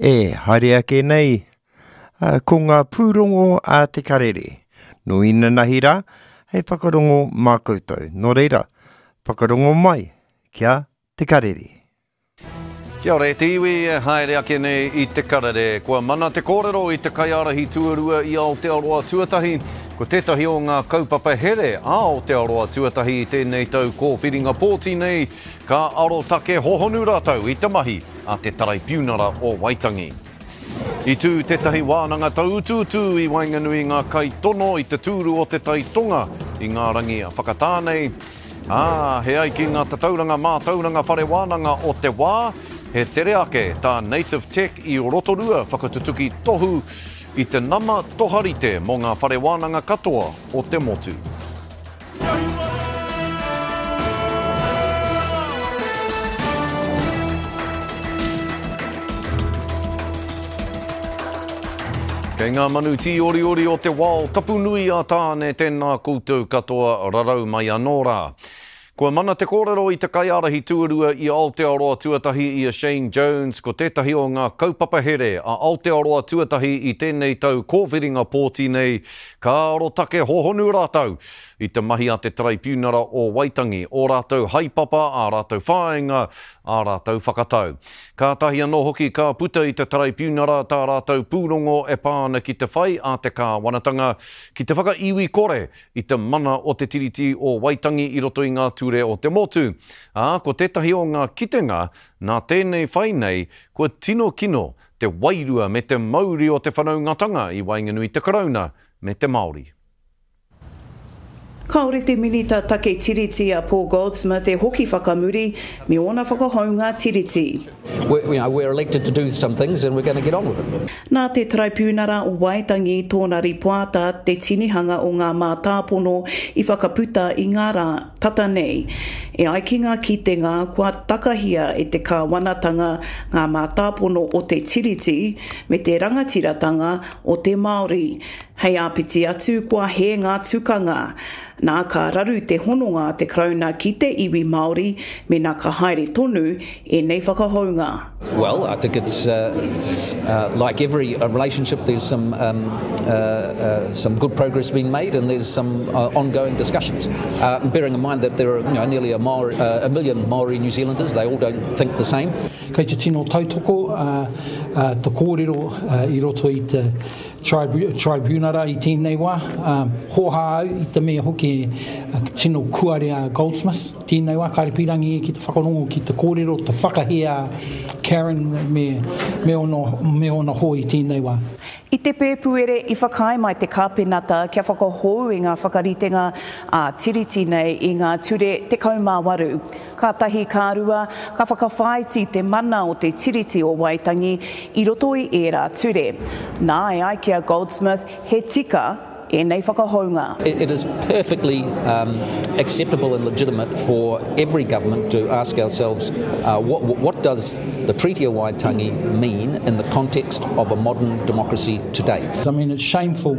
E haere ake nei, ko ngā pūrongo a Te Karere. Nō inanahi rā, hei whakarongo mā koutou. Nō reira, whakarongo mai ki a Te Karere. Kia ora e te iwi e haere ake nei i Te Karere. Kua mana te kōrero i te kaiārahi tuarua i Aotearoa Tuatahi. Ko tētahi o ngā kaupapa here a Aotearoa Tuatahi i tēnei tau kōwhiringa pōti nei, ka arotake hohonu rātou i te mahi a te Taraipiunara o Waitangi. I tū tētahi wānanga tauutuutu i waenganui i ngā kaitono i te tūru o Te Tai Tonga i ngā rangi whakatā nei, ā, he ai ki ngā tatauranga mātauranga whare wānanga o te wā, he tere ake tā Native Tech i Rotorua whakatutuki tohu i te nama toharite mō ngā whare wānanga katoa o te motu. Kei ngā manu tīoriori o te wao tapu nui a Tāne tēnā koutou katoa rarau mai anō rā. Kua mana te kōrero i te kaiārahi tuarua i Aotearoa Tuatahi i a Shane Jones ko tētahi o ngā kaupapa here a Aotearoa Tuatahi i tēnei tau kōwhiringa pōti nei ka arotake hohonu rātou i te mahi a te Taraipiunara o Waitangi, ō rātou haepapa, ā rātou whāinga, ā rātou whakatau. Kātahi anō hoki ka puta i te Taraipiunara tā rātou pūrongo e pā ana ki te whai a te kāwanatanga ki te whakaiwi kore i te mana o te Tiriti o Waitangi i roto i ngā ture o te motu. Ā, ko tētahi o ngā kitenga nā tēnei whai nei kua tino kino te wairua me te mauri o te whanaungatanga i waenganui i te Karauna me te Māori. Kāore te Minita Take Tiriti a Paul Goldsmith e hoki whakamuri me ōna whakahounga tiriti. Nā te Taraipiunara o Waitangi tōna rīpoata te tinihanga o ngā mātāpono i whakaputa i ngā rā tata nei. E ai ki ngā kitenga kua takahia e te kāwanatanga ngā mātāpono o te Tiriti me te rangatiratanga o te Māori. Hei āpiti atu, kua hē ngā tukanga. Nā, ka raru te hononga a te Karauna ki te iwi Māori mēnā ka haere tonu ēnei whakahounga. Well, I think it's like every relationship there's some some good progress being made and there's some ongoing discussions. Bearing in mind that there are you know, nearly a, Maori, a million Maori New Zealanders, they all don't think the same. Kei te tino tautoko te kōrero i roto i te Tribunara i tēnei wā. Hōhā au i te mea hoki tino kuare a Goldsmith tēnei wā, kāre pīrangi ia ki te whakarongo ki te kōrero, te whakahē a Karen me, me ōna, me ōna hoa i tēnei wā. I te Pēpuere i whakaae mai te Kāpenata kia whakahou i ngā whakaritenga ā-Tiriti nei i ngā ture 18. Kātahi ka rua, ka whakawhāiti te mana o te Tiriti o Waitangi i roto i ērā ture. Nā, e ai ki a Goldsmith, he tika ēnei whakahounga. It is perfectly acceptable and legitimate for every government to ask ourselves what, what does the Treaty of Waitangi mean in the context of a modern democracy today? I mean, it's shameful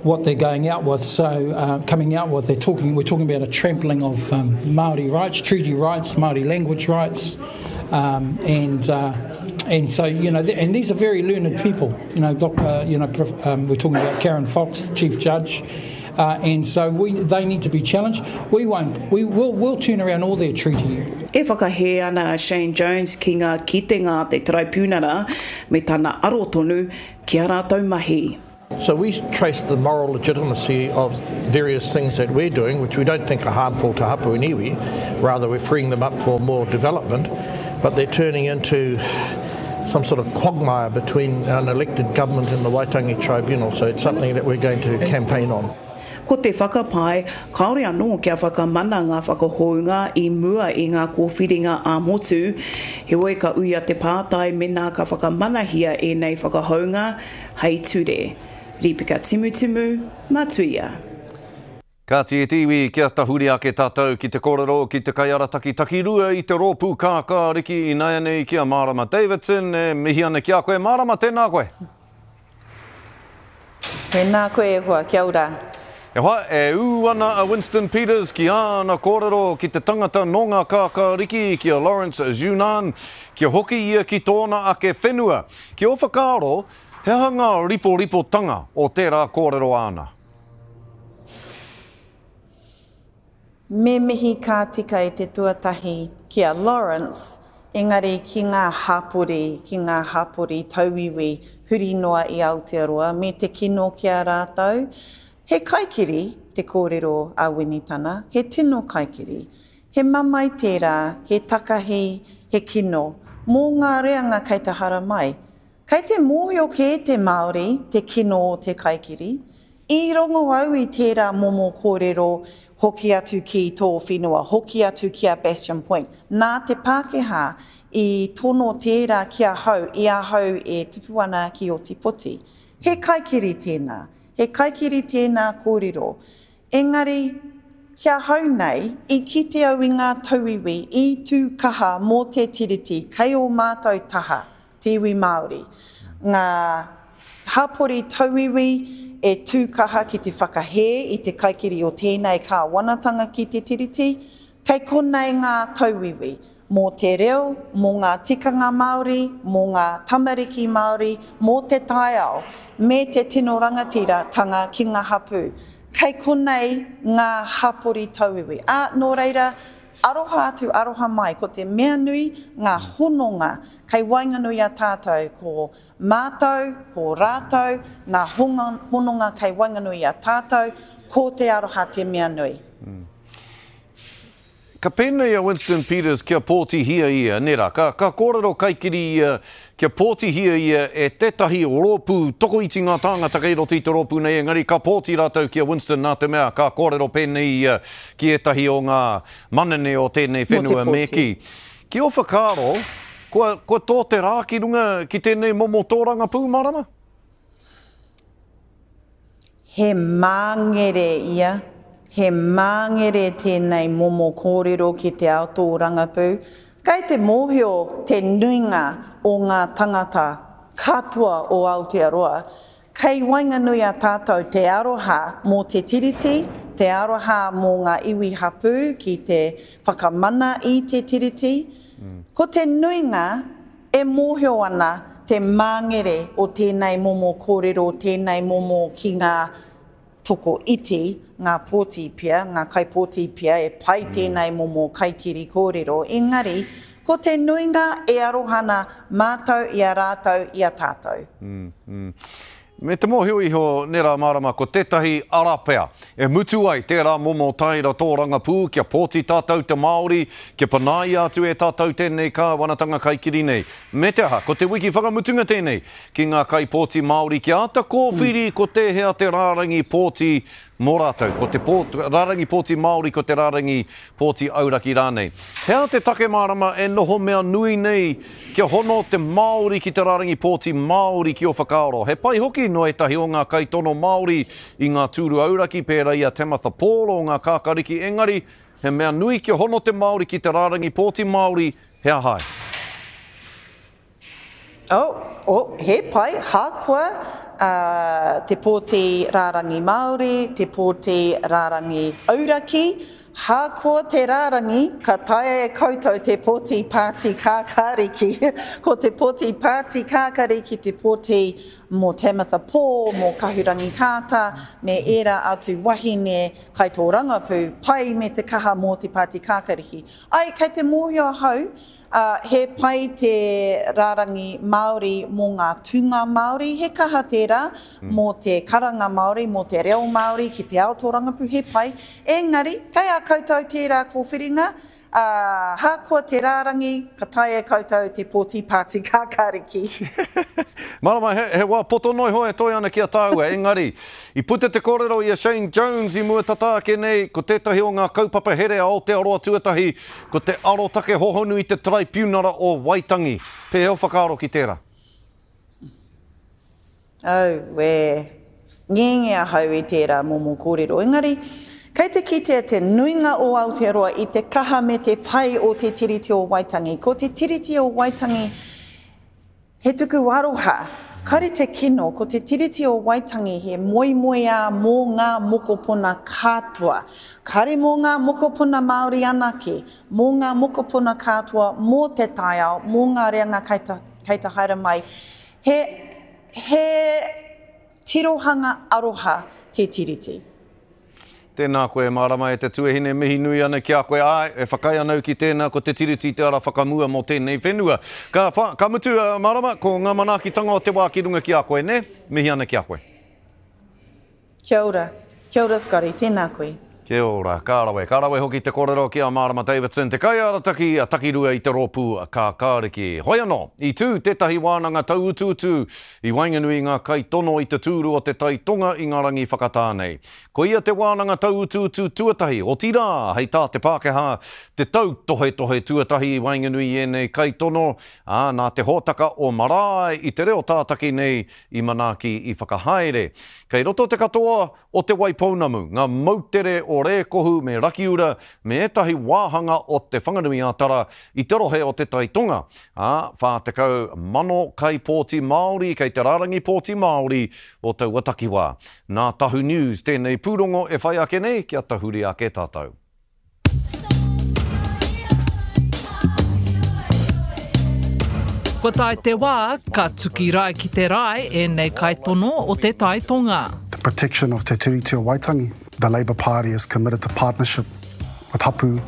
what they're going out with. So uh, coming out with, they're talking. We're talking about a trampling of um, Maori rights, treaty rights, Maori language rights, um, and uh, and so you know, and these are very learned people. You know, doc, uh, you know, um, we're talking about Karen Fox, chief judge. Uh, and so we, they need to be challenged. We won't. We will we'll turn around all their treaty. E whakahē ana a Shane Jones ki ngā kitenga a te Taraipiunara me tana aro tonu ki a rātou mahi. So we trace the moral legitimacy of various things that we're doing, which we don't think are harmful to hapu and iwi, rather we're freeing them up for more development, but they're turning into some sort of quagmire between an elected government and the Waitangi Tribunal, so it's something that we're going to campaign on. Ko te whakapae, kāore anō kia whakamana ngā whakahounga i mua i ngā kōwhiringa ā-motu, heoi ka uia te pātai mēnā ka whakamanahia ēnei whakahounga, Hei ture. Rīpeka Timutimu, Matuia. Kāti e te iwi, kia tahuri ake tātou ki te kōrero ki te kaiarataki takirua i te rōpū kākāriki inaianei ki a Mārama Davidson. E mihi ana ki a koe. Mārama, tēnā koe. Tēnā koe e hoa, kia ora. E hoa, e ū ana a Winston Peters ki āna kōrero ki te tangata nō ngā kākāriki, ki a Lawrence Zunan, kia hoki ia ki tōna ake whenua. Ki ō whakaaro, he aha ngā riporipotanga o tērā kōrero āna? Me mihi ka tika i te tuatahi ki a Lawrence, engari ki ngā hapori, ki ngā hapori tauiwi huri noa i Aotearoa, me te kino ki a rātou. He kaikiri te kōrero a Winitana, he tino kaikiri. He mamae tērā, he takahi, he kino, mō ngā reanga kei te haramai. Kei te mōhio kē te Māori te kino o te kaikiri. I rongo au i tērā momo kōrero hoki atu ki tō whenua, hoki atu ki a Bastion Point. Nā te Pākehā i tono tērā ki ahau i ahau e tupu ana ki Ōtepoti. He kaikiri tēnā. He kaikiri tēnā kōrero. Engari, ki ahau nei, i kite au i ngā tauiwi i tū kaha mō te Tiriti kei ō mātou taha, te iwi Māori, ngā hapori tauiwi e tū kaha ki te whakahē i te kaikiri o tēnei kāwanatanga ki te Tiriti, kei konei ngā tauiwi mō te reo, mō ngā tikanga Māori, mō ngā tamariki Māori, mō te taiao, me te tino rangatiratanga ki ngā hapū. Kei konei ngā hapori tauiwi. Ā, nō reira, aroha atu, aroha mai, ko te mea nui, ngā hononga kei waenganui i a tātou, ko mātou, ko rātou, ngā hononga kei waenganui i a tātou, ko te aroha te mea nui. Ka pēnei a Winston Peters kia pōtihia ia, nē rā, ka, ka kōrero kaikiri ia kia pōtihia ia e tētahi rōpū, tokoiti ngā tāngata kei roto i te rōpū nei, engari ka pōti rātou ki a Winston nā te mea ka kōrero pēnei ia ki ētahi o ngā manene o tēnei whenua me kī. Ki ō whakaaro, kua, kua tō te rā ki runga ki tēnei momo tōrangapū, Marama? He māngere ia, he māngere tēnei momo kōrero ki te ao tōrangapū. Kei te mōhio te nuinga o ngā tangata katoa o Aotearoa, kei waenganui a tātou te aroha mō te Tiriti, te aroha mō ngā iwi hapū ki te whakamana i te Tiriti. Ko te nuinga E mōhio ana te māngere o tēnei momo kōrero, tēnei momo ki ngā toko iti, ngā pōti pea, ngā kaipōti pea e pai tēnei momo kaikiri kōrero, engari, ko te nuinga e aroha ana mātou i a rātou i a tātou. Me te mōhio iho, nē rā mārama, ko tētahi ara pea e mutu ai tērā momo taera tōrangapū kia pōti tātou te Māori, kia panaia atu e tātou tēnei kāwanatanga kaikiri nei. Me te aha, ko te wiki whakamutunga tēnei ki ngā kaipōti Māori kia āta kōwhiri ko tēhea te rārangi pōti mō rātou, ko te pō, rārangi pōti Māori, ko te rārangi pōti auraki rānei. He aha te take mārama e noho mea nui nei kia hono te Māori ki te rārangi pōti Māori ki ō whakaaro? He pai hoki nō ētahi o ngā kaitono Māori i ngā tūru auraki pērā i a Tamatha Paul o ngā Kākariki engari he mea nui kia hono te Māori ki te rārangi pōti Māori, he aha ai? Oh, oh, he pai, hākoa uh, te pōti rārangi Māori, te pōti rārangi auraki, hākoa te rārangi, ka taea e koutou te pōti pāti kākāriki. Ko te pōti pāti kākariki te pōti mō Tamatha Paul, mō Kahurangi Carter, me ērā atu wahine kaitōrangapū, pai me te kaha mō te pāti kākariki. Ai, kei te mōhio ahau, Ā, he pai te rārangi Māori mō ngā tūnga Māori, he kaha tērā mō te karanga Māori, mō te reo Māori ki te ao tōrangapū, he pai. Engari, kei a koutou tērā kōwhiringa, ā, ahakoa te rārangi, ka taea e koutou te pōti pāti kākāriki. Marama, he, he wā poto noa iho e toe ana ki a tāua, engari, i puta te kōrero i a Shane Jones i mua tata ake nei, ko tētahi o ngā kaupapa here a Aotearoa Tuatahi, Ko te arotake hohonu i te Taraipiunara o Waitangi. Pēhea o whakaaro ki tērā? Auē. Ngenge ahau i tērā momo kōrero. Engari, kei te kitea te nuinga o Aotearoa i te kaha me te pai o te Tiriti o Waitangi. Ko te Tiriti o Waitangi he tuku aroha. Kāre te kino, ko te Tiriti o Waitangi he moemoeā mō ngā mokopuna katoa. Kāre mō ngā mokopuna Māori anake, mō ngā mokopuna katoa, mō te taiao, mō ngā reanga kei te, kei te haere mai. He, he tirohanga aroha te Tiriti. Tēnā koe, Marama e te tuahine, mihi nui ana ki a koe. Āe, e whakaae ana au ki tēnā, ko te Tiriti te ara whakamua mō tēnei whenua. Ka, ka mutu, Marama, ko ngā manaakitanga o te wā ki runga ki a koe, nē? Mihi ana ki a koe. Kia ora. Kia ora Scotty, tēnā koe. Kia ora. Ka rawe. Ka rawe hoki te kōrero ki a Marama Davidson, te kaiarataki a Takirua i te rōpū Kākāriki. Hoi anō, i tū tētahi wānanga tauutuutu i waenganui i ngā kaitono i te tūru o te Tai Tonga i ngā rangi whakatā nei. Koia te wānanga tauutuutu tuatahi, otirā, hei tā te Pākehā, te tautohetohe tuatahi i waenganui i ēnei kaitono, ā, nā te hōtaka o Marae i te reo tātaki nei i manaaki, i whakahaere. Kei roto te katoa o Te Waipounamu, ngā moutere o Rēkohu me Rakiura me ētahi wāhanga o Te Whanganui-a-Tara i te rohe o Te Tai Tonga, ā, 40,000 kaipōti Māori kei te rārangi pōti Māori o taua takiwā. Nā Tahu News tēnei pūrongo e whai ake nei kia tahuri ake tātou. Kua tae te wā, ka tuki rae ki te rae ēnei kaitono o Te Tai Tonga. The protection of Te Tiriti o Waitangi, the Labour Party is committed to partnership with hapu,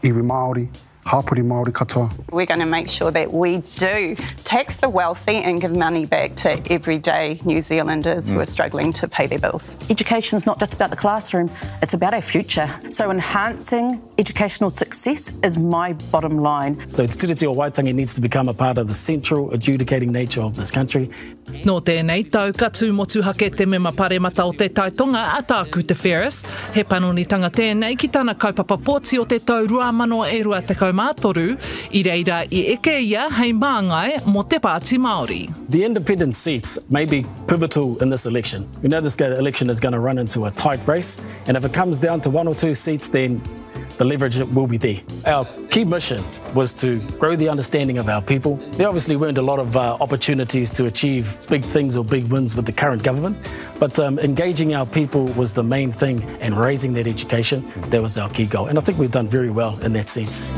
iwi Māori, hapori Māori katoa. We're going to make sure that we do tax the wealthy and give money back to everyday New Zealanders who are struggling to pay their bills. Education is not just about the classroom, it's about our future. So enhancing educational success is my bottom line. So Te Tiriti o Waitangi needs to become a part of the central adjudicating nature of this country. Nō tēnei tau ka tū motuhake te mema paremata o Te Tai Tonga a Tākuta Ferris. He panonitanga tēnei ki tana kaupapa pōti o te tau 2023, i reira i eke ia hei māngai mō te Pāti Māori. The independent seats may be pivotal in this election. We know this election is going to run into a tight race and if it comes down to one or two seats then the leverage will be there. Our key mission was to grow the understanding of our people. There obviously weren't a lot of uh, opportunities to achieve big things or big wins with the current government, but um, engaging our people was the main thing and raising that education, that was our key goal. And I think we've done very well in that sense.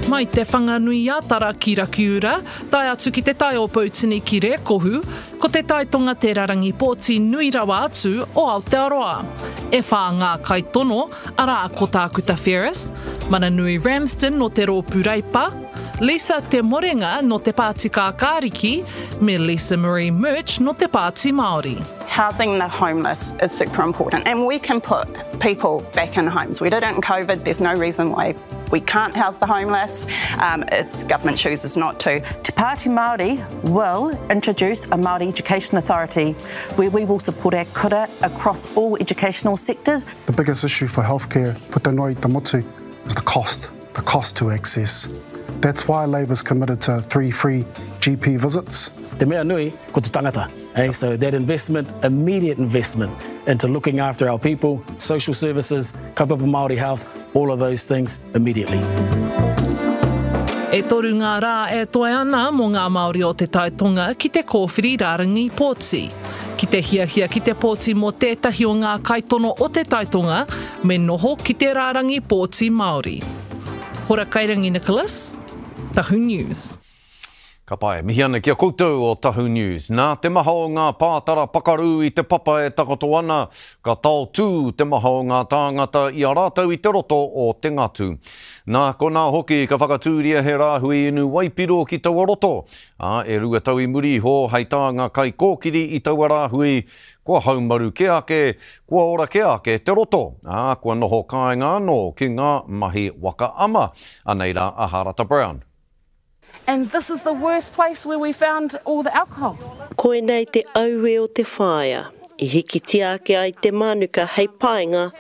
Mai te Whanganui-a-Tara ki Rakiura, tae atu ki te Tai o Poutini ki Rēkohu, Ko Te Tai Tonga te rarangi pōti nui rawa atu o Aotearoa. E whā ngā kaitono, arā ko Tākuta Ferris, Mananui Ramsden nō te Rōpū Reipa, Lisa Te Morenga nō te Pāti Kākāriki, me Lisa Marie Murch nō te Pāti Māori. Housing the homeless is super important and we can put people back in homes. We did it in COVID, there's no reason why We can't house the homeless um, if government chooses not to. Te Pāti Māori will introduce a Māori Education Authority where we will support our kura across all educational sectors. The biggest issue for healthcare, puta noa i te motu, is the cost, the cost to access. That's why Labour's committed to three free GP visits. Te mea nui, ko te tangata. Eh? So that investment, immediate investment into looking after our people, social services, kaupapa Māori health, all of those things immediately. E toru ngā rā e toe ana mō ngā Māori o Te Tai Tonga ki te kōwhiri rārangi pōti. Ki te hiahia ki te pōti mō tētahi o ngā kaitono o Te Tai Tonga, me noho ki te rārangi pōti Māori. Hora Kairangi Nicholas, Tahu News. Ka pai. Mihi ana ki a koutou o Tahu News. Nā te maha o ngā pātara pakaru i te papa e takoto ana, ka taotū te maha o ngā tāngata i a rātou i te roto o Te Ngatu. Nā konā hoki ka whakatūria he rāhui inu waipiro ki taua roto, ā, e rua tau i muri iho hei tā ngā kaikōkiri i taua rāhui, kua haumaru kē ake, kua ora kē ake te roto, ā, kua noho kāinga anō ki ngā mahi waka ama. Anei rā a Harata Brown. And this is the worst place where we found all the alcohol. Koinei te aue o te whaea i hikitia ake ai te mānuka hei painga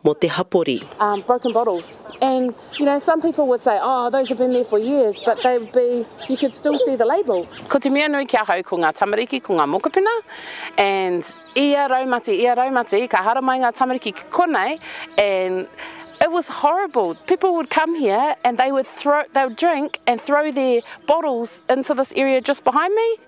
mō te hapori. Um, broken bottles. And, you know, some people would say, oh, those have been there for years, but they would be, you could still see the label. Ko te mea nui ki ahau ko ngā tamariki, ko ngā mokopuna, and ia raumati, ia raumati, ka haramai ngā tamariki ki konei, and It was horrible. People would come here and they would throw, they would drink and throw their bottles into this area just behind me.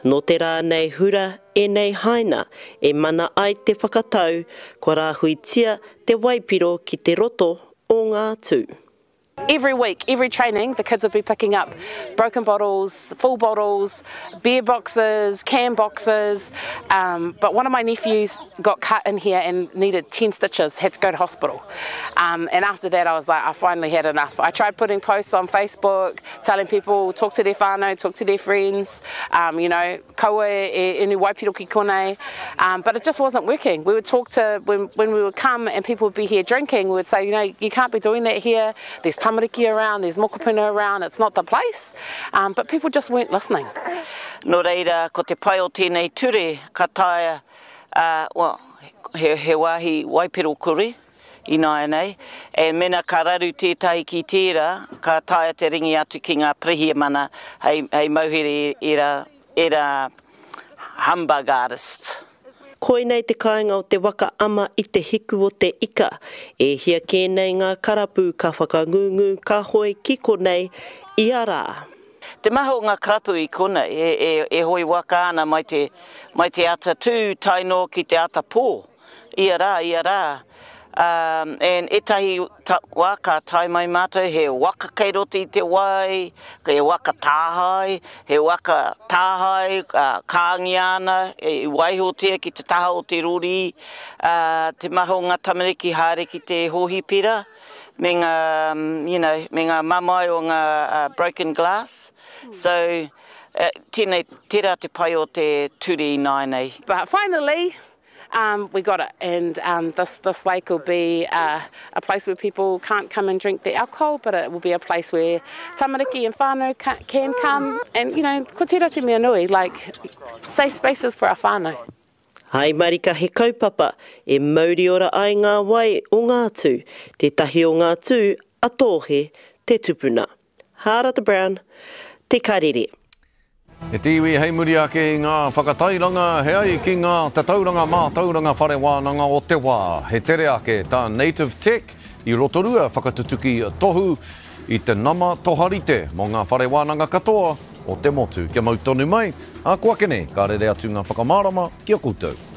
Nō te rā nei hura ēnei haina e mana ai te whakatau kua rāhuitia te waipiro ki te roto o ngā tū. Every week, every training, the kids would be picking up broken bottles, full bottles, beer boxes, can boxes. Um, but one of my nephews got cut in here and needed 10 stitches, had to go to hospital. Um, and after that, I was like, I finally had enough. I tried putting posts on Facebook, telling people, talk to their whānau, talk to their friends, um, you know, kaua e inu waipiro ki konei. Um, but it just wasn't working. We would talk to, when, when we would come and people would be here drinking, we would say, you know, you can't be doing that here. There's tamariki around, there's mokopuna around, it's not the place. Um, but people just weren't listening. Nō reira, ko te pai o tēnei ture, ka taea, uh, well, he, he wāhi waipiro kore ināianei, and mena ka raru tētahi ki tērā, ka taea te ringi atu ki ngā pirihimana hei, hei mauhere ērā, ērā humbug artists. Koinei te kāinga o te waka ama i te hiku o te ika. E hia kē nei ngā karapu ka whakangungu ka hoe ki konei ia rā. Te maha o ngā karapu i konei e hoe waka ana mai te, mai te ata tū tae noa ki te ata pō. Ia rā, ia rā. And ētahi wā ka tae mai mātou he waka kei roto i te wai, he waka tāhae, he waka tāhae kāngia ana, i waihotia ki te taha o te rori. Te maha o ngā tamariki haere ki te hōhipera me ngā, you know, me ngā mamae o ngā broken glass. So, tēnei, tērā te pai o te ture ināianei. But finally, Um, we got it, and um, this, this lake will be uh, a place where people can't come and drink the alcohol, but it will be a place where tamariki and whānau can come, and, you know, ko tērā te mea nui, like, safe spaces for our whānau. Hai marika he kaupapa e mauriora ai ngā wai o ngā tū, tētahi o ngā tū a Tōhe te tupuna. Hārata Brown, Te Karere. E te iwi hei muri ake i ngā whakatairanga he ai ki ngā tatauranga mātauranga whare wānanga o te wā. He tere ake tā Native Tech i Rotorua whakatutuki tohu i te nama toharite mō ngā whare wānanga katoa o te motu. Kia mau tonu mai, ā ko ake nei ka rere atu ngā whakamārama ki a koutou.